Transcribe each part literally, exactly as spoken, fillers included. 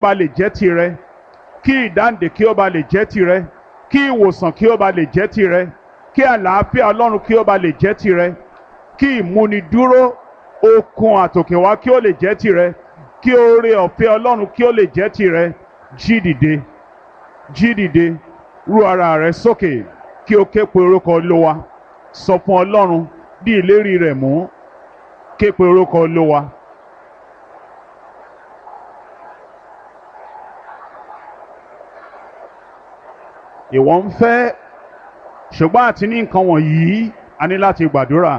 bá lè jẹ́ tirẹ̀, kí ìdáǹdè kí ó bá lè jẹ́ tirẹ̀, kí ìwòsàn kí ó bá lè jẹ́ tirẹ̀, kí àlàáfíà Ọlọ́run kí ó bá lè jẹ́ tirẹ̀, kí ìmúnidúró okun àtòkèwá kí ó lè jẹ́ tirẹ̀, kí oore ọ̀fẹ́ Ọlọ́run kí ó lè jẹ́ tirẹ̀. Jí dìde, jí dìde, rú ara rẹ sókè kí o ké pe orúkọ Olúwa. Sọ fún Ọlọ́run, di ìlérí rẹ̀ mú, ké pe orúkọ Olúwa. Ìwọ ń fẹ́, ṣùgbọ́n àti ní nǹkan wọ̀nyí a ní láti gbàdúrà.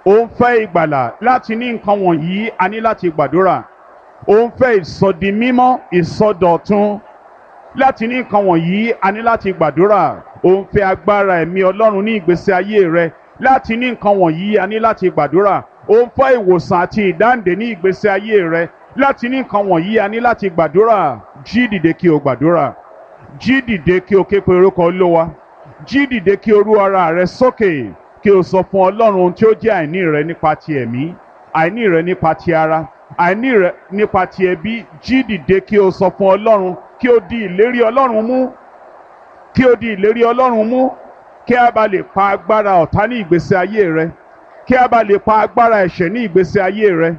Ó ń fẹ́ ìgbàlà, láti ní nǹkan wọ̀nyí a ní láti gbàdúrà. Ó ń fẹ́ ìsọdimímọ́, ìsọdọ̀tun, láti ní nǹkan wọ̀nyí a ní láti gbàdúrà. Ó ń fẹ́ agbára ẹ̀mí Ọlọ́run ní ìgbésí ayé rẹ, láti ní nǹkan wọ̀nyí a ní láti gbàdúrà. Ó ń fẹ́ ìwòsàn àti ìdáǹdè ní ìgbésí ayé rẹ, láti ní nǹkan wọ̀nyí a ní láti gbàdúrà. Jí dìde kí o gbàdúrà. Jí dìde kí o ké pe orúkọ Olúwa. Jí dìde kí o rú ara rẹ sókè, kí o sọ fún Ọlọ́run ohun tí ó jẹ́ àìní rẹ nípa ti ẹ̀mí, àìní rẹ nípa ti ara, àìní rẹ nípa ti ẹbí. Jí dìde kí o sọ fún Ọlọ́run, kí o di ìlérí Ọlọ́run mú, kí o di ìlérí Ọlọ́run mú, kí a bá lè pa agbára ọ̀tá ní ìgbésí ayé rẹ, kí a bá lè pa agbára ẹ̀ṣẹ̀ ní ìgbésí ayé rẹ,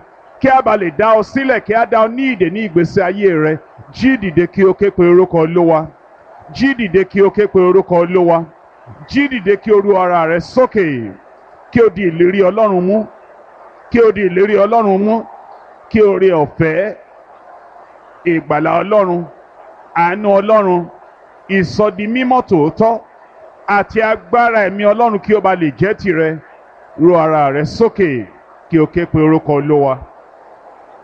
kí a bá lè dá ọ sílẹ̀, kí a dá ọ ní ìdè ní ìgbésí ayé rẹ. Jí dìde kí o ké pe orúkọ Olúwa. Jí dìde kí o ké pe orúkọ Olúwa. Jí dìde kí o rú ara rẹ sókè, kí o di ìlérí Ọlọ́run mú, kí o di ìlérí Ọlọ́run mú, kí oore ọ̀fẹ́ ìgbàlà Ọlọ́run, àánú Ọlọ́run, ìsọdimímọ́ tòótọ́ àti agbára ẹ̀mí Ọlọ́run kí ó bá lè jẹ́ tirẹ̀. Rú ara rẹ sókè kí o ké pe orúkọ Olúwa.